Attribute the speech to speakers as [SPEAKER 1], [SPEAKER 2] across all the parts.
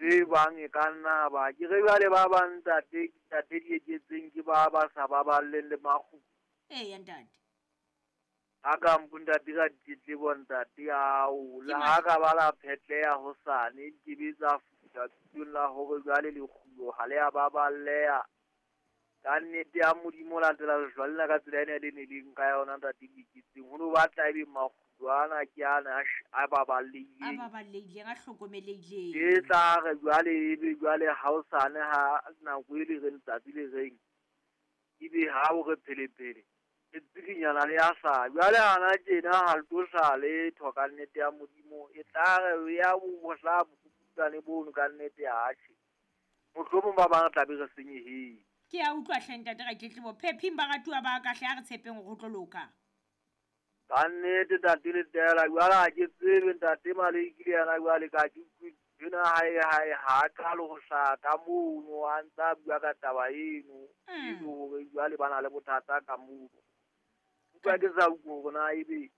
[SPEAKER 1] Tse bang e ka nna ba ke re jwale ba bang ntate ntate Dieketseng ke ba ba sa baballeng le makgulo.
[SPEAKER 2] Eya ntate.
[SPEAKER 1] A ka mpo ntate ka ditletlebo ntate ao
[SPEAKER 2] Ke
[SPEAKER 1] le ha ka ba la phetleha hosane di ke be tsa fihla thutong la hore jwale lekgulo ha le a baballeha. Ka nnete ya Modimo latela lehlwa lena ka tsela ena le ne leng ka yona ntate Dieketseng. Ho no batla ebe makgulo ana ke ana a
[SPEAKER 2] A
[SPEAKER 1] baballehileng.
[SPEAKER 2] baballehileng, a hlokomelehileng.
[SPEAKER 1] E tla re jwale ebe jwale ha hosane ha nako e le reng tsatsi le reng ebe ha o re phelepele le tsikinyana le ya hlaha. Jwale hana tjena ha le tlo hlaha letho ka nnete ya Modimo. E tla re ya bo hlaha bokukutsane bono ka nnete atjhe. Mohlomong ba bang re tla be re senyehile.
[SPEAKER 2] Ke a utlwa hle ntate Ratletlebo. Phephing baratuwa ba ka hle, a re tshepeng hore ho tlo loka.
[SPEAKER 1] Ka nnete ntate Letela jwale ha ke tsebe ntate Maleki le yena jwale ka ke utlwe ena hae hae ha a qale ho hlaha ka mono a ntsa bua ka taba eno. E le hore jwale ba na le bothata ka mono. Utlwa ke sa utlwe hore na ebe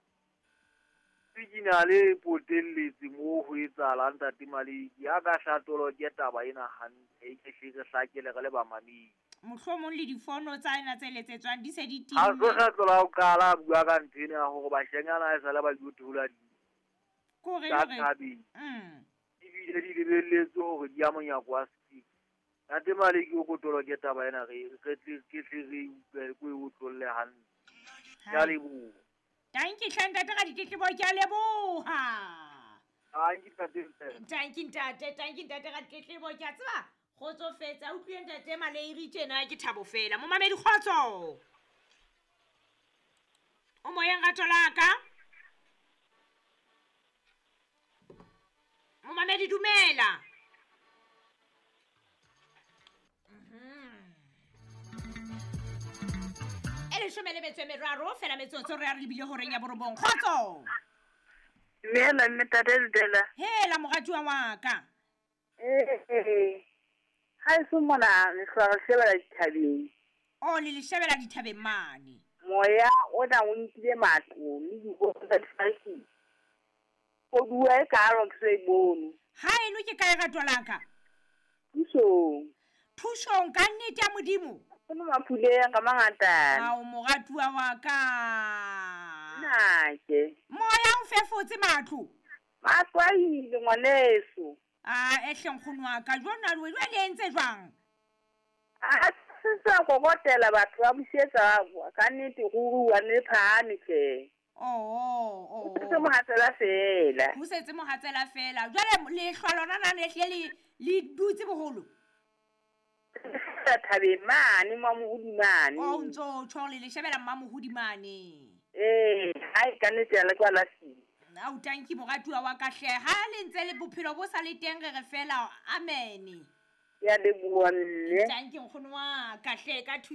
[SPEAKER 1] signal e potelletse moo ho etsahalang ntate Maleki. A ka hlatoloke ke taba ena hantle e ke hle re hlakele re le bamamedi.
[SPEAKER 2] Mohlomong le difono tsa ena tse letsetswang di se di
[SPEAKER 1] Ha se
[SPEAKER 2] timme.
[SPEAKER 1] kgetlo la ho qala a bua ka ntho ena ya hore bashenyana ha esale ba ilo theola
[SPEAKER 2] Ke hore
[SPEAKER 1] tsa
[SPEAKER 2] le hore
[SPEAKER 1] thabeng. Ebile di lebelletswe hore di ya monyako wa sepiri. Ntate Maleki o ko toloke taba ena re re tle ke tle re utlwe ko e otlolle hantle. Ke a
[SPEAKER 2] Hai.
[SPEAKER 1] leboha.
[SPEAKER 2] Tanki hle ntate Raditletlebo, ke a leboha.
[SPEAKER 1] Tanki ntate Letela.
[SPEAKER 2] Tanki ntate, tanki ntate Raditletlebo, ke a tseba kgotsofetse. A utlwile ntate Maleiri tjena ke thabo fela. Momamedi kgotso. O moyeng rato la ka? Momamedi dumela. E leshome le metso e meraro fela metsotso re a re lebile horeng ya borobong. Kgotso.
[SPEAKER 3] Dumela mme ntate Letela.
[SPEAKER 2] Hela moratuwa wa ka.
[SPEAKER 3] Ee. Ha eso mona re hlwa re shebela dithabeng.
[SPEAKER 2] O le le shebela dithabeng mane.
[SPEAKER 3] Moya ona o nkile matlo le dikolo tsa lefatshe. Koduwa e kalo ke so e bone.
[SPEAKER 2] Ha eno ke kae rato la ka?
[SPEAKER 3] Thusong.
[SPEAKER 2] Thusong ka nnete ya Modimo.
[SPEAKER 3] Ho mapuleng ka mangata.
[SPEAKER 2] Ao moratuwa wa ka.
[SPEAKER 3] Nna ke.
[SPEAKER 2] Moya o fefotse matlo.
[SPEAKER 3] Matlo a ile ngwaneso.
[SPEAKER 2] A ehle nkgono wa ka jona jwale le entse jwang?
[SPEAKER 3] A se sa kokotela batho ba busetsa ka nnete ruri wa ne phahame hle.
[SPEAKER 2] Oh.
[SPEAKER 3] Ho setse mohatsela fela.
[SPEAKER 2] Ho setse mohatsela fela. Jwale lehlwa lona na le hle le dutse boholo?
[SPEAKER 3] Thabeng mane Mmamohudi mane.
[SPEAKER 2] O ntso tjho le le shebela Mmamohudi mane.
[SPEAKER 3] Ee, ha e ka nnete ya le kwa la fihla.
[SPEAKER 2] Ao tanki moratuwa wa ka hle. Ha le ntse le bophelo bo sa le teng re re fela amen.
[SPEAKER 3] Ke a leboha mme.
[SPEAKER 2] Tanki nkgono wa ka hle ka